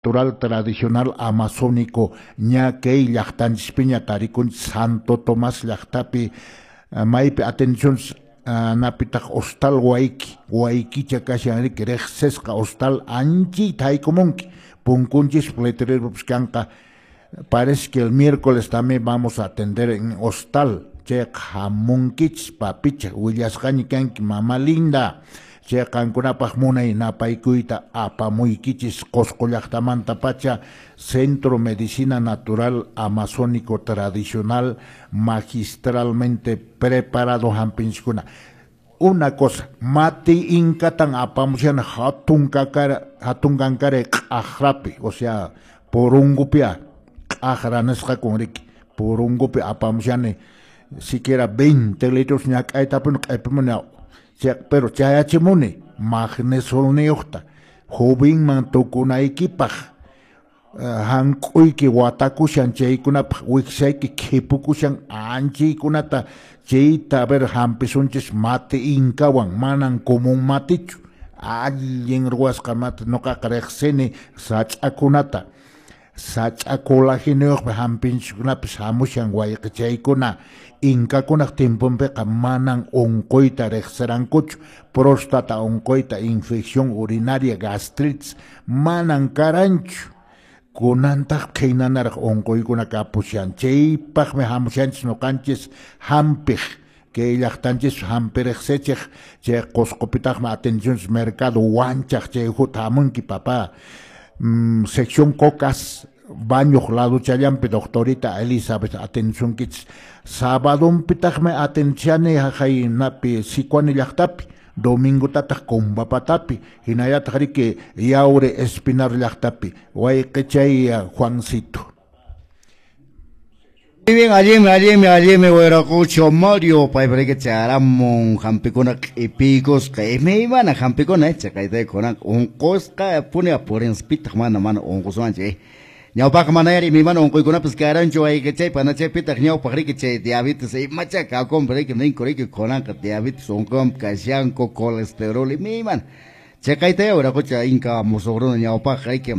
Natural Tradicional Amazónico ña kay llaqtanchispiña tarikunchis Santo Tomás llaqtapi, maypi atención napitaq hostal wayki waykicha kashan riki riqsisqa hostal anchita haykumunki punkunchis letreropis kanqa. Parece que el miércoles también vamos a atender en hostal. Chayqa hamunkichis, papicha, willasqaña kanki, mama linda. Chay qankunapaq munay napaykuyta apamuykichis Qosqo llaqtamantapacha, Centro Medicina Natural Amazónico Tradicional, magistralmente preparado hampinchiskuna. Una cosa, mati inkatan apamushani hatun kakara, hatun kankaray q'aqrapi, o sea, purungupia q'aqra nisqakun riki, purungupi apamushani siquiera 20 litros ñak'aytapuni q'ipimuni, pero chayachimuni magnesolniyuqta jovenman tukunaykipaq, hank'uyki watakushan chaykunapaq, wiksayki khipukushan anchaykunata chayta a ver hampisunchis mate inkawan, manan común matichu, allin ruwasqa mate. Nuqaqa riqsini sach'akunata, sach'a colagenuyuqpi hampinchikkunapis hamushan wayqichaykuna. Inkakunaq tiemponpiqa manan unquyta riqsirankuchu, próstata unquyta, infección urinaria, gastritis manan karanchu. Kunantaq qhaynanaraq unquykuna kapushan, chaypaqmi hamushanchis nuqanchis hampiq kay llaqtanchis hampi riqsichiq. Chay Qosqopitaqmi atenciones mercado wanchaq, chay huta hamunki, papá. Sección Cocas bañuq laduchallanpi doctorita Elizabeth atencionkichis. Sabadonpitaqmi atencionani haqaynapi Sicuani llaqtapi, domingotataq Combapatapi, hinallataq riki Yaure Espinar llaqtapi, wayqichay Juancito. Muy bien, allinmi, allinmi, allinmi, wiraqucho Mario, paypariki charamun hampikuna q'ipiykusqa, imaymana hampikuna, chaqayta kunan unqusqa puni purinspitaq mana mana unqusunchik. Ñawpaq mana yari imaymana unquykunapis karanchu wayqichay panachaypitaq ñawpaq riki chay diabetes imacha kakunpi riki ninku riki kunanqa diabetes unquywan kashanku, colesterol imaymana. Chaqayta wiraqucha inka musuq runa ñawpaq riki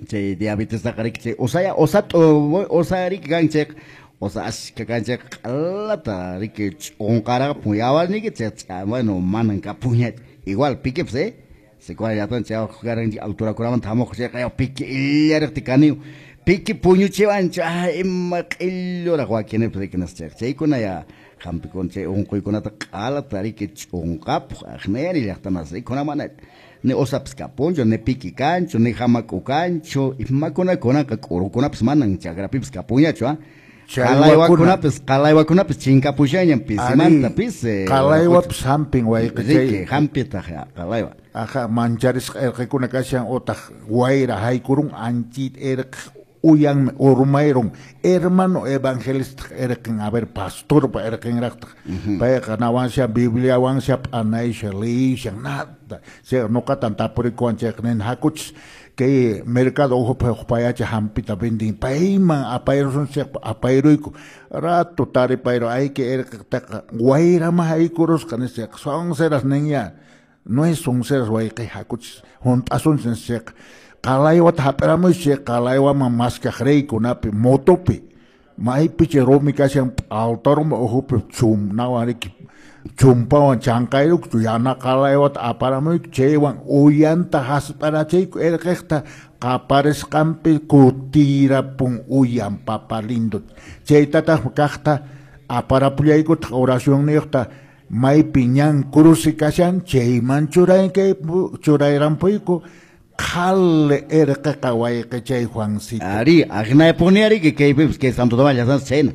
chay diabetestaqa riki chay osaya osat'u osa riki kan chayqa osa ashka kan chayqa q'alata riki ch'unqaraqapun yawarniyki chay bueno manan kapunñachu igual pikipas Sicuani llaqtan chay karanchik alturakunamanta hamuq chayqa piki illariqti kaniyu piki puñuchiwanchu ima q'illuraq wakinipis riki nisqa chayqa chaykuna ya hampikuna chay unquykunata q'alata riki ch'unqapuq aqnayari llaqtamasi kuna mana ni osapis kapunchu, ni piki kanchu, ni hamak'u kanchu, imakuna kunanqa k'urukunapis manan chakrapipis kapunñachu, qalaywakunapis, qalaywakunapis chinkapushañan pisimanta pisi. Qalaywapis hampin wayqichay. Riki, hampitaq qalaywa. Aja, mancharisqa irqikuna kashan utaq wayra haykurun anchit irqi uyanmi urmayrun hermano evangelista irqin, a ver, pastorpa irqinraqtaq. Payqa nawansha Bibliawansha p'anaysha liyishan nada. Chay nuqatan tapurikuwan chayqa nin hakuchis kay mercado uhupi huk payacha hampita vendin payman apayrusunchik, apayruyku rato taripayru ayki irqitaqa wayrama haykurusqa nisqa sonceras ninya no es sonceras wayqi hakuchis hunt'asunchis nisqa qalaywata hap'iramuychis qalaywaman maskaq riykunapi motopi maypichi rumi kashan p'altaruma uhupi chumnawan riki chumpawan chanqayrukchu yana qalaywata aparamuyku chaywan uyanta hasp'arachiyku irqiqta qaparisqanpi kutirapun uyan papa lindo. Chaytataqmi kaqta aparapullaykutaq oracionniyuqta maypi ñan cruce kashan chayman churayrampuyku qhali irqiqa wayqichay Juancito. Ari, aqnaypuni ariki kaypipis kay Santo Tomás llaqtanchis chayna.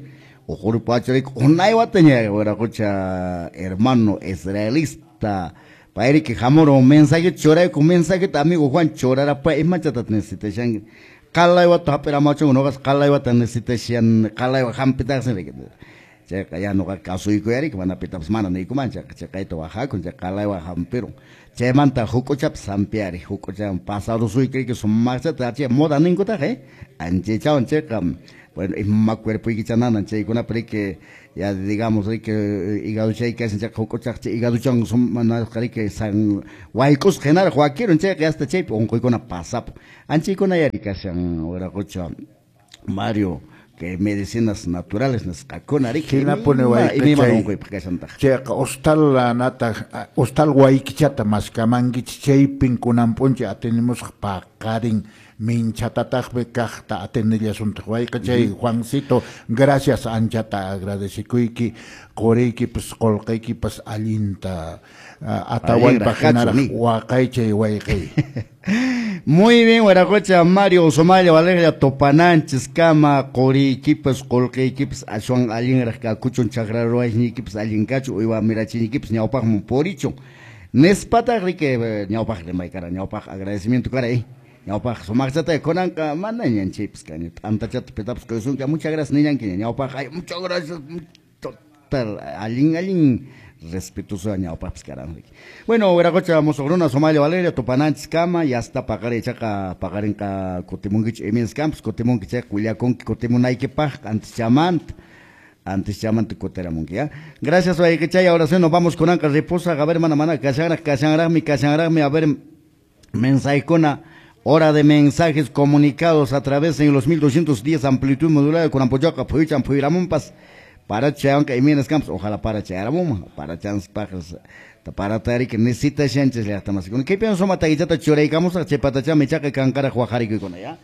Uqurpacha riki unay wataña wiraqucha hermano israelista payriki hamurun mensaje churayku mensajeta amigo Juan churarapa imachataq necesitashanki qalaywata hap'iramachunku nuqas qalaywata necesitashan qalaywa hampitaqsin riki chayqa ya nuqa kasuykuyariki mana pitapas mana niykuman chayqa chayqayta waqakun chay qalaywa hampirun. Chaymanta huk'uchapas hampiari, huk'uchawan pasarusuyki sumaqchata chay moda ninkutaq, anchaychawan chayqa, bueno, ima cuerpoykicha nanan chaykunapi riki, ya digamos riki hígado chay kashan chayqa huk'uchaq chay hígadochawan sumanasqa riki san wayk'usqa hinaraq wakirun chayqa hasta chaypi unquykuna pasapun. Anchaykuna yari kashan wiraqocha Mario, que medicinas naturales nisqakuna riki. Hinapuni wayqichay. Chayqa hostal lanata, hostal waykichata maskamankichik chaypin kunan p'unchay atenimusqa paqarin minchatataqmi kaqta atendellasuntaq wayqichay. Juancito, gracias, anchata agradecekuyki, quriykipas qolqeykipas allinta Atahualpa hinaraq waqaychay wayqey. Muy bien, wiraqocha Mario Sumalla Valeria, tupananchis kama quriykipas qolqeykipas aswan allinraq kakuchun, chakra ruwayniykipis allin kachun, uywa mirachiyniykipis ñawpaqman purichun. Nispataq riki ñawpaq rimay kara, ñawpaq agradecimiento kara, ñawpaq sumaqchata kunanqa manañan chaypis kaña, t'antachata pitapas quysunki, muchas gracias niñankiña, ñawpaq ay muchas gracias, total allin allin respetuoso ñawpaqpis karan riki. Bueno, wiraqocha musuq runa Sumalla Valeria, tupananchis kama, ya hasta paqarin chaqa paqarinqa kutimunkichu imens campus, kutimunki chayqa willakunki kutimunaykipaq antes chamanta kutiramunki, ya. Gracias wayqichay, ahora sí nos vamos kunanqa reposa, a ver mana mana kashanraqmi, a ver mensajekuna, hora de mensajes comunicados a través en los 1210 amplitud modulada con Ampoyoca, Puychan, Puyramunpas, para chayanka imenas campos, ojalá para chayaramun, para chans pajas, para tarik necesita chanches llaqta más. ¿Qué pienso mataguichata churaykamos, chepatacha mechaca kankara huajarikuna, ya?